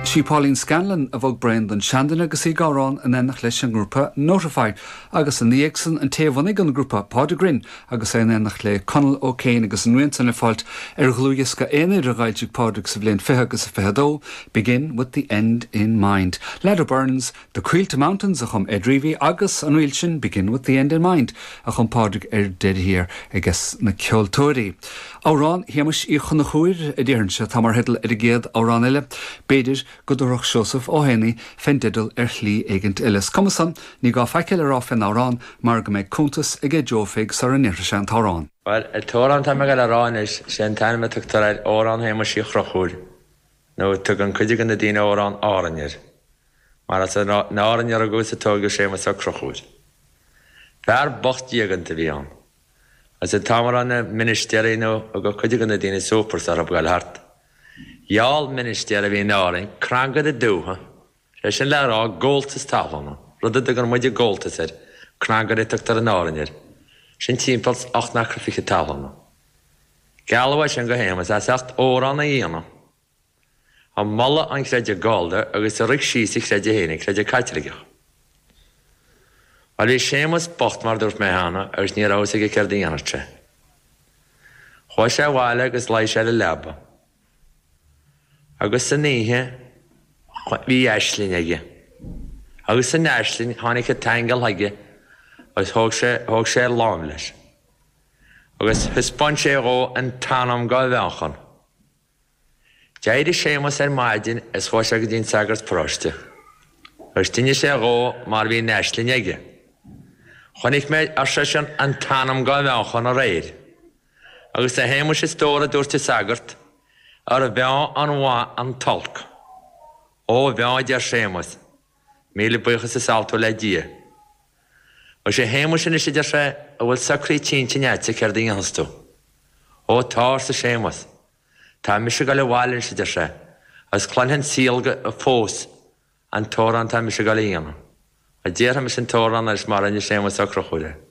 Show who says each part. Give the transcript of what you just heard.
Speaker 1: Sí Pauline Scanlon a bhog braon don seanduine agus í ag amhrán in éineacht leis an ngrúpa Notify agus ina dhiaidh san an té a bhunaigh an grúpa, Pádraig Rynne agus é in éineacht le Conall Ó Céin agus an rian san le fáilt ar dhlúthdhiosca aonair a d'fhoilsigh Pádraig sa bhliain 20 agus a 22, Begin With The End In Mind. Ladder Burns, The Coillte Mountains a chum Ed Reavy agus an ríl sin Begin With The End In Mind a chum Pádraig ar deireadh thiar ages na ceoltóirí. Amhrán Shéamuis Uí Chonchúir, a déarfainnse, atá mar theideal ar an gcéad amhrán eile. B'fhéidir go dtabharfadh Seosamh Ó hÉanaí fén dteideal ar shlí éigint eile. Is cuma san, ní gá faic eile a rá fén amhrán mar go mbeidh cuntas aige Joe Pheig sara ndéarfaidh sé an t-amhrán.
Speaker 2: Bhuel, an t-amhrán atá mé ag dul a rá anois, sé an t-ainm a tugtar air, Amhrán Shéamuis Uí Chonchúir, nó tugann cuid de na daoine Amhrán Árainn air, mar is in Árainn a rugadh is a tóigeadh Séamus Ó Conchúir. Fear bocht diaganta a bhí ann. Agus an t-am a raibh na ministéirí nó a thugadh cuid de na daoine supers orthu ag goil thart, gheall ministéir a bhí in Árainn crangaire dútha, sé sin le rá gabháltas talún, rud a dtugann muide gabháltas air, crangaire a tugtar in Árainn air, sin timpeall 's 8 n-acra fichid talún. Gealladh é sin go Shéamus as ucht amhrán a dhéanamh. Ag moladh an chreidimh Gallda agus a rith síos a chreideamh féin, an creideamh Caitliceach. Bhuel, bhí Séamus bocht mar a dúirt mé cheana agus ní raibh fhios aige céard a dhéanfadh sé. Chuaigh sé abhaile agus luigh sé ar an leaba. Agus san oíche bhí aisling aige. Agus san aisling tháinig an t-aingeal chuige agus thóg sé, thóg sé ar láimh leis. Agus thaispeáin sé dhó an t-anam go Mheánchon. D'éirigh Séamus ar maidin is chuaigh sé go dtí an sagart paróiste agus d'inis sé dhó mar bhí an aisling aige. Chonaic mé, ar seisean, an t-anam go Mheánchon aréir. Agus a Shéamuis a stór a dúirt an sagart, ar mheá an mhaith an t-olc. Ó mheá a deir Séamus, míle buíochas is altú le Dia. Agus a Shéamuis anois a deir sé, an bhfuil socraithe sa intinn a'dsa céard a dhéanfas tú? Ó tá, arsa Séamus. Tá mise ag dul abhaile anois, a deir sé, agus cluinfidh an saol go fós an t-amhrán atá mise ag dul a dhéanamh. Déarfaidh mise an t-amhrán anois mar a rinne Séamus Ó Conchúir é.